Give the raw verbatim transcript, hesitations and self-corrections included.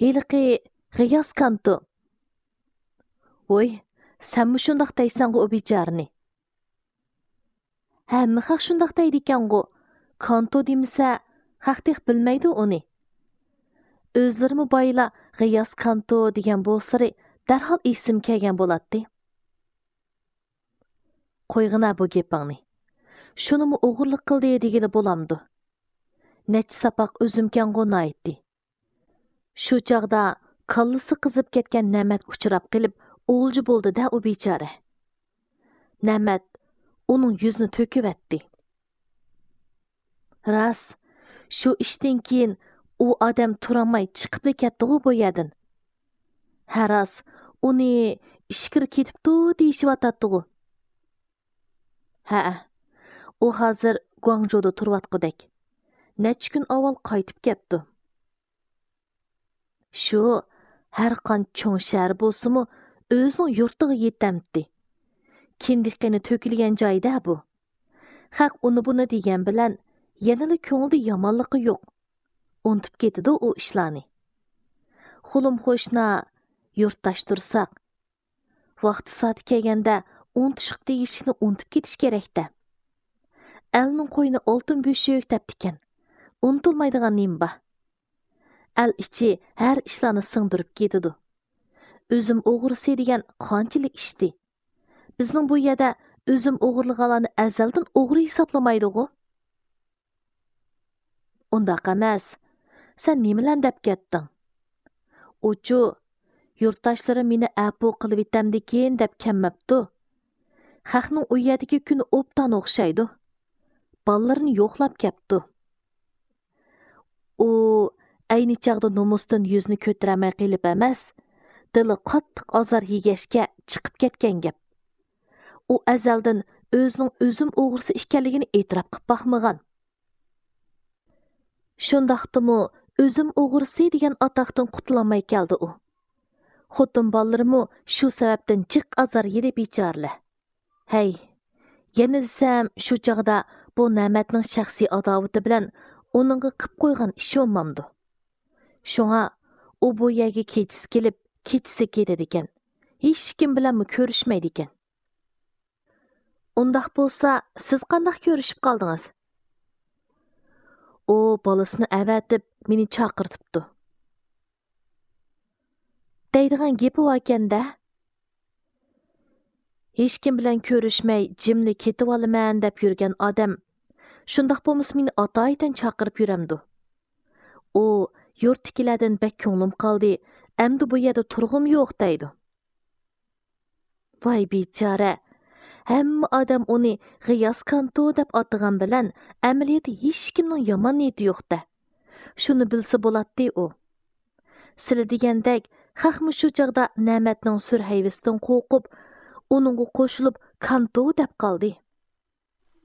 ھېلىقى غىياس كانتو. ۋوي، سەنمۇ شۇنداق دەيسەنغۇ ئۇ بىچارىنى. ھەممە خەق شۇنداق دەيدىكەنغۇ. كانتو دېمىسە، خەق تېخى بىلمەيدۇ ئۇنى. ئۆزلىرىمۇ بايىلا غىياس كانتو دېگەن بولسىلى، دەرھال ئېسىمگە كەلگەن بولاتتى. قويغىنا بۇ گېپىڭنى. شۇنىمۇ ئوغرىلىق قىلدى دېگىلى بولامدۇ؟ نەچچە ساپاق ئۆزۈمكەنغۇ ناھايىتى. شۇ چاغدا كاللىسى قىزىپ كەتكەن نەمەت ئۇچراپ قېلىپ، ئولجا بولدى-دە ئۇ بىچارە. نەمەت ئۇنىڭ يۈزىنى تۆكۈۋەتتى. راست، شۇ ئىشتىن كېيىن ئۇ ئادەم تۇرالماي چىقىپلا كەتتىغۇ بۇ يەردىن. ھە، راست، ئۇنى ئىچكىرى كېتىپتۇ دېيىشىۋاتاتتىغۇ. ھەئە، ئۇ ھازىر گۇاڭجۇدا تۇرۇۋاتقۇدەك. نەچچە كۈن ئاۋۋال قايتىپ كەپتۇ. شۇ، ھەرقانچە چوڭ شەھەر بولسىمۇ، ئۆزىنىڭ يۇرتىغا يېتەمتى. كىندىك قېنى تۆكۈلگەن جاي-دە بۇ. خەق ئۇنى-بۇنى دېگەن بىلەن، يەنىلا كۆڭلىدە يامانلىقى يوق. ئۇنتۇپ كېتىدۇ ئۇ ئىشلارنى. خۇلۇم قوشنا، يۇرتداش تۇرساق، ۋاقتى سائىتى كەلگەندە ئۇنتۇشقا تېگىشلىكنى ئۇنتۇپ كېتىش كېرەك-دە. ئەلنىڭ قوينى ئالتۇن بۆشۈك دەپتىكەن. ئۇنتۇلمايدىغان نېمە بار؟ ئەل ئىچى ھەر ئىشلارنى سىڭدۈرۈپ كېتىدۇ. ئۈزۈم ئوغرىسى دېگەن قانچىلىك ئىشتى. بىزنىڭ بۇ يەردە ئۈزۈم ئوغرىلىغانلارنى ئەزەلدىن ئوغرى ھېسابلىمايدىغۇ. ئۇنداق ئەمەس. سەن نېمىلەرنى دەپ كەتتىڭ؟ ئۇچۇ، يۇرتداشلىرىم مېنى ئەپۇ قىلىۋېتەمدىكىن دەپ كەلمەپتۇ. خەقنىڭ ئۇ يەردىكى كۈنى ئوبدان ئوخشايدۇ. بالىلىرىنى يوقلاپ كەپتۇ. ئۇ ئەينى چاغدا نومۇستىن يۈزىنى كۆتۈرەلمەي قېلىپ ئەمەس، دىلى قاتتىق ئازار يېگەچكە چىقىپ كەتكەن گەپ. ئۇ ئەزەلدىن ئۆزىنىڭ ئۈزۈم ئوغرىسى ئىكەنلىكىنى ئېتىراپ قىلىپ باقمىغان. شۇنداقتىمۇ ئۈزۈم ئوغرىسى دېگەن ئاتاقتىن قۇتۇلالماي كەلدى ئۇ. خوتۇن بالىلىرىمۇ شۇ سەۋەبتىن جىق ئازار يېدى بىچارىلەر. ھەي، يەنە دېسەم، شۇ چاغدا بۇ نەمەتنىڭ شەخسىي ئاداۋىتى بىلەن ئۇنىڭغا قىپ قويغان ئىشى بولمامدۇ؟ شۇڭا ئۇ بۇ يەرگە كېچىسى كېلىپ، كېچىسى كېتىدىكەن. ھېچكىم بىلەنمۇ كۆرۈشمەيدىكەن. ئۇنداق بولسا، سىز قانداق كۆرۈشۈپ قالدىڭىز؟ ئۇ بالىسىنى ئەۋەتىپ، مېنى چاقىرتىپتۇ. دەيدىغان گېپى باركەن-دە. ھېچكىم بىلەن كۆرۈشمەي، جىملا كېتىۋالىمەن دەپ يۈرگەن ئادەم، شۇنداق بولمىسا مېنى ئاتايىتەن چاقىرىپ يۈرەمدۇ؟ ئۇ، يۇرتتىكىلەردىن بەك كۆڭلۈم قالدى، ئەمدى بۇ يەردە تۇرغۇم يوق دەيدۇ. ۋاي بىچارە! ھەممە ئادەم ئۇنى غىياس كانتو دەپ ئاتىغان بىلەن، ئەمەلىيەتتە ھېچكىمنىڭ يامان نىيىتى يوق-دە. شۇنى بىلسە بولاتتى ئۇ. سىلى دېگەندەك، خەقمۇ شۇ چاغدا نەمەتنىڭ سۈر ھەيۋىسىدىن قورقۇپ، ئۇنىڭغا قوشۇلۇپ كانتو دەپ قالدى.